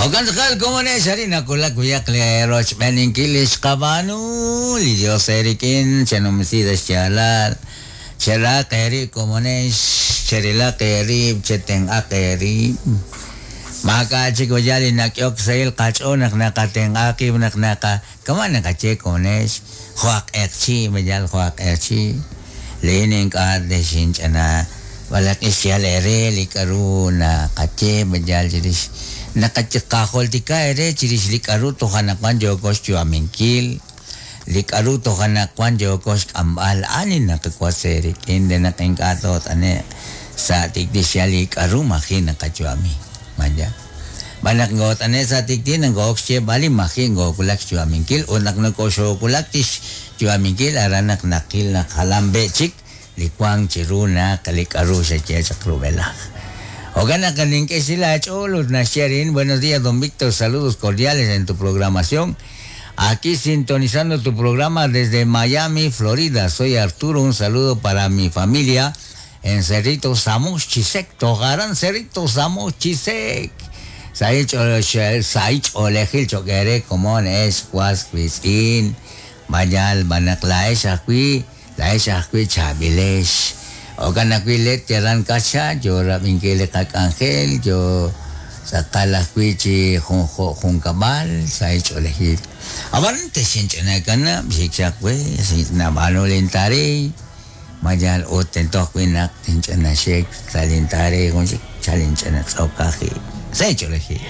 Jo'kan tz'aqal komonex arin nawulak b'ayaq leerochb'eeninkil li xqab'aanu li Dios eerik'in chenumsi sa' xyaalal cherahaq eerib' komonex cherilaq eerib' chetenq'aq eerib' maak'a' chik b'ayaq li nak'ehok sahil qach'ool naq naqatenq'a qib' naq naqa kama' naqaye komonex jo' aj q'eqchi' b'ayaq jo' aj q'eqchi' laa'in ink'a' texinch'ana b'alaq'i xyal eere li k'a'ru naqaye b'ayaq chirix naqajultika eere chirix li k'a'ru toj anaqwan yooko xyu'aminkil li k'a'ru toj anaqwan yooko xk'amb'al a'an li naqawotz eerik'in re naq ink'a' toot'ane'q sa' tik'ti' xyal li k'a'ru maji' naqayu'ami maya xb'aan naq ngoot'ane' sa' tik'ti' nokoo'ok xyeeb'al li maji' ngoowulak xyu'aminkil ut naq nokoxoowulak chi xyu'aminkil aran naq naqil naq jalan b'e chik li wank chiru naq li k'a'ru xaye chaq rub'elaj. Jo'kan naq nink'e xsil aach'ool ut naxye arin buenos días don Víctor saludos cordiales en tu programación aquí sintonizando tu programa desde Miami, Florida. Soy Arturo, un saludo para mi familia en Cerrito Samuch Chisec, Tojarán Cerrito Samuch Chisec. Sahil ch'oolejil cho'q eere komon ex was wiitz'in mayal b'anaq laa'ex ajwi' laa'ex ajwi' chaab'ilex jo'kan ajwi' let yalan kaxa yo rab'inkil li qak'anjel yo tz'aqal ajwi' chi jo' junkab'al sahil ch'oolejil ab'an texinch'inakanab' xik chaq we nab'aanu lintareey mayal ut tento ajwi' naq tinch'ina xik sa' lintareey jun chik chalinch'ina tz'okaji sahil ch'oolejil.